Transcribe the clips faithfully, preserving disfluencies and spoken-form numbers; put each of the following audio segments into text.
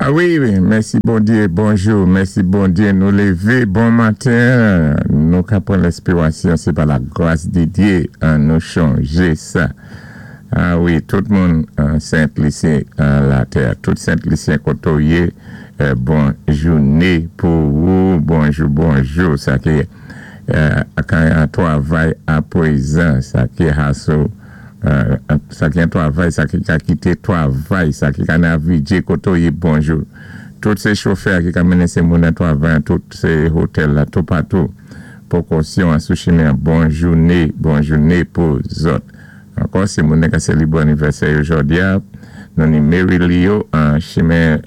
Ah wi, wi, mèsi Bondyé, bonjou, mèsi Bondyé, nou lévé, bon maten, nou ka pran lespirasyon, sé pa la gras di Dyé, an nou chanjé sa. Ah wi, tout moun Sent Lisi la tè, tout Sent Lisyen koto yé, bon jouné pou ou, bonjou, bonjou, sa ki kan an twavay apwézan, sa ki haso, sa ki an twavay, sa ki ka kité twavay, sa ki ka navidjé koto yé, bonjou. Tout sé chofè ki ka mennen sé moun an twavay, tout sé hotèl la, tout patou. Pwékosyon an sou chimen, bon jouné, bon jouné pou zòt. Ankò, sé moun ka sélébwé anivèsè jòdi a, nou ni Mary Leo an chimen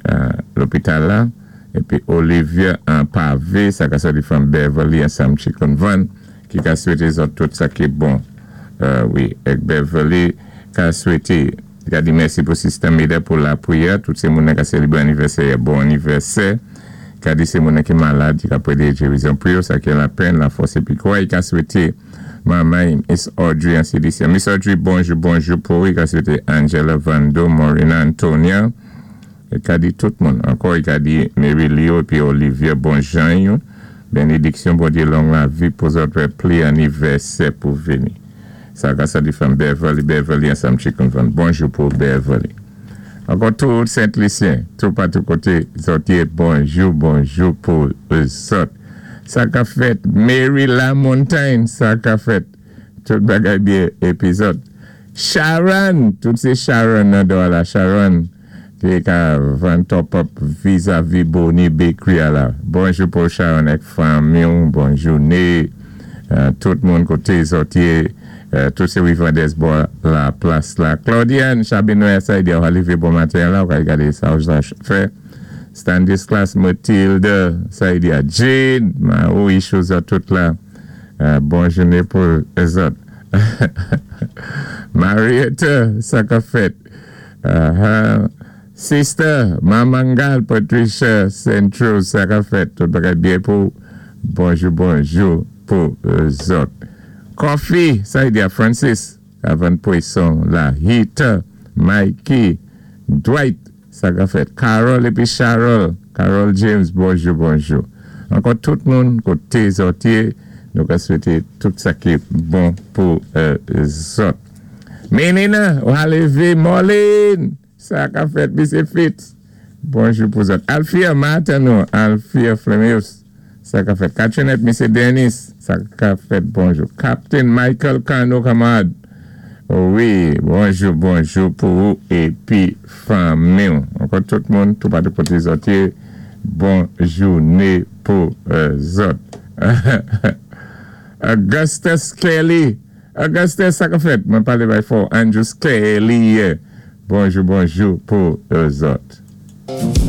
lopital la, épi Olivia an pavé, sa ka sòti from Beverly ansanm Chicken Van, ki ka swété zòt tout sa ki bon. Wi, èk Beverly ka swété, ka di mèsi pou Sister Mida pou lapwiyè, tout sé moun ka sélébwé anivèsè, bon anivèsè, ka di sé moun ki malad, ki ka pwédé gérizon pou yo, sa ki lapenn, lafòs épi kwa, i ka swété manman Miss Audrey an C D C. Miss Audrey, bonjou, bonjou pou, i ka swété Angela Vando, Morina Antonia, i ka di tout moun, ankò i ka di Mary Leo épi Olivia, bon jan yo, bénédiksyon Bondyé, long lavi pou zòt pli anivèsè pou vini. Sa ka sa di from Beverly, Beverly ansanm Chicken Van. Bonjou pou Beverly. Ankò tout Sent Lisyen, tout patou koté zòt yé, bonjou, bonjou pou zòt. Sa ka fèt Mary LaMontagne, sa ka fèt tout bagay byen épi zòt. Sharon, tout sé Sharon nan do la, Sharon, ki ka vann top up vis-à-vis Bonnie Bakery a la. Bonjou pou Sharon èk fanmi, bon jouné, tout moun koté zòt yé, tout sé Rivandès bò la plas la. Claudiane Chabinoy sa di ou lévé bon maten la, ou ka gadé sa ou fè. Stanislas Mathilde, sa di a Jane, ma ou isho zòt tout la. Bon jouné pou zòt. Marietta, sa ka fèt. Sister, Mamangal, Patricia Central, sa ka fèt. Tout bagay byen pou bonjou, bonjou pou zòt. Coffee, sa di a Francis, avan pwéson la. Hita, Mikey, Dwight, sa ka fèt. Carol épi Charol, Carol James, bonjou, bonjou. Ankò tout moun, koté zòt yé, nou ka swété tout sa ki bon pou zòt. Menina, ou a lévé, Marlene, sa ka fèt, Misye Fitz, bonjou pou zòt. Alfia Martin nou, Alfia Flemeus, sa ka fèt. Kachenet, Misye Dennis, sa ka fèt, bonjou. Captain Michael Kano Kamad, wi, bonjou, bonjou pou ou épi fanmi. Ankò tout moun, tout patou koté zòt yé, bon jouné pou zòt. Augustus Kelly, Augustus, sa ka fèt, mwen palé bay fò, Andrew Kelly, bonjou, bonjou pou zòt.